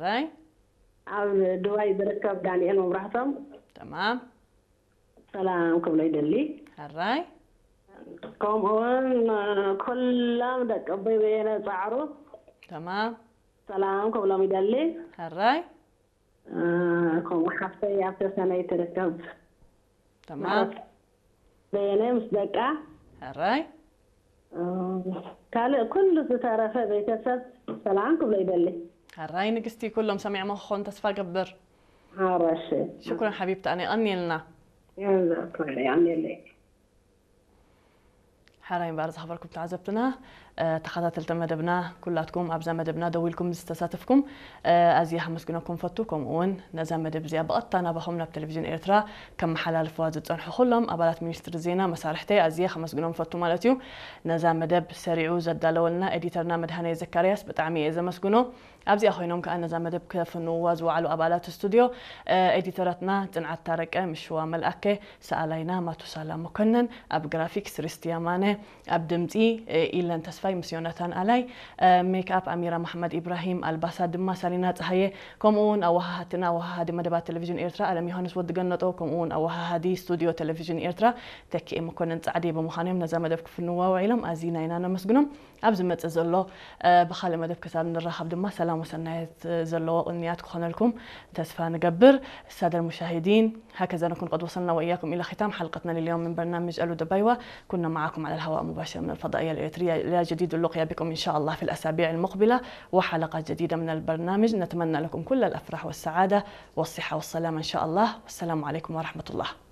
ሕራይ። ኣብ ዱባይ ዝርከብ ዳንኤል መብራህቶም ተማም። ሰላም ክብሎ ይደሊ። ሕራይ። ከምኡውን ኩሎም ደቂ ኣቦይ በየነ ጻዕሩ ተማም። ሰላም ክብሎም ይደሊ። ሕራይ። ከምኡ ሓፍተይ ኣብ ተሰነይ ትርከብ ተማም። በየነ ምስ ደቃ ሕራይ። ካልእ ኩሉ ዝተረፈ ቤተሰብ ሰላም ክብሎ ይደሊ። ሕራይ ንግስቲ፣ ኩሎም ሰሚዖሞ ክኾኑ ተስፋ ገብር። ሓራሽ ሽኩረን ሓቢብቲ ኣነ፣ ቀንየልና። ያንዛ ኩሉ ያንየለይ ሕራይ እምበኣር ዝኸበርኩም ተዓዘብትና፣ እ፣ ተኸታተልቲ መደብና፣ ኩላትኩም ኣብዛ መደብና ደው ኢልኩም ዝተሳተፍኩም፣ እ፣ ኣዝየ ከመስግነኩም ፈቱ። ከምኡ እውን ነዛ መደብ እዚኣ ብቐጥታ ናባኹም ናብ ቴሌቪዥን ኤርትራ ከመሓላልፍዋ ዝጸንሑ ኩሎም ኣባላት ሚኒስትሪ ዜና መሳርሕተይ ኣዝየ ከመስግኖም ፈቱ ማለት እዩ። ነዛ መደብ ሰሪዑ ዘዳለወልና ኤዲተርና መድሃኔ ዘካርያስ ብጣዕሚ እየ ዘመስግኖ። ኣብዚኣ ኮይኖም ከኣ ነዛ መደብ ከፍንውዋ ዝወዓሉ ኣባላት ስቱድዮ፣ እ፣ ኤዲተራትና ጽንዓት ታረቀ፣ ምሽዋ መልኣከ፣ ሰኣላይና ማቱሳላ መኮነን፣ ኣብ ግራፊክስ ርስቲ ያማነ፣ ኣብ ድምጺ፣ እ፣ ኢለን ተስፋይ ምስ ዮናታን ኣላይ፣ እ፣ ሜክኣፕ ኣሚራ መሓመድ ኢብራሂም፣ ኣልባሳት ድማ ሳሊና ጸሃየ፣ ከምኡ እውን ኣወሃሃድትና ኣወሃሃዲ መደባት ቴሌቪዥን ኤርትራ ኣለም ዮሃንስ ወዲ ገነጦ፣ ከምኡ እውን ኣወሃሃዲ ስቱድዮ ቴሌቪዥን ኤርትራ ተኪኤ መኮነን ጻዕዲ ብምዃኖም ነዛ መደብ ክፍንዋ ውዒሎም ኣዚና ኢና ነመስግኖም። ኣብ ዝመጽእ ዘሎ፣ እ፣ ብኻልእ መደብ ክሳብ ንራኸብ ድማ ሰላም ወሰናየት ዘለዎ ቅንያት ክኾነልኩም ተስፋ ንገብር። السادة المشاهدين، هكذا نكون قد وصلنا وإياكم إلى ختام حلقتنا لليوم من برنامج ألو دبايوة. كنا معكم على الهواء مباشر من الفضائية الإريترية. إلى جديد اللقيا بكم إن شاء الله في الأسابيع المقبلة وحلقة جديدة من البرنامج. نتمنى لكم كل الأفراح والسعادة والصحة والسلامة إن شاء الله. والسلام عليكم ورحمة الله.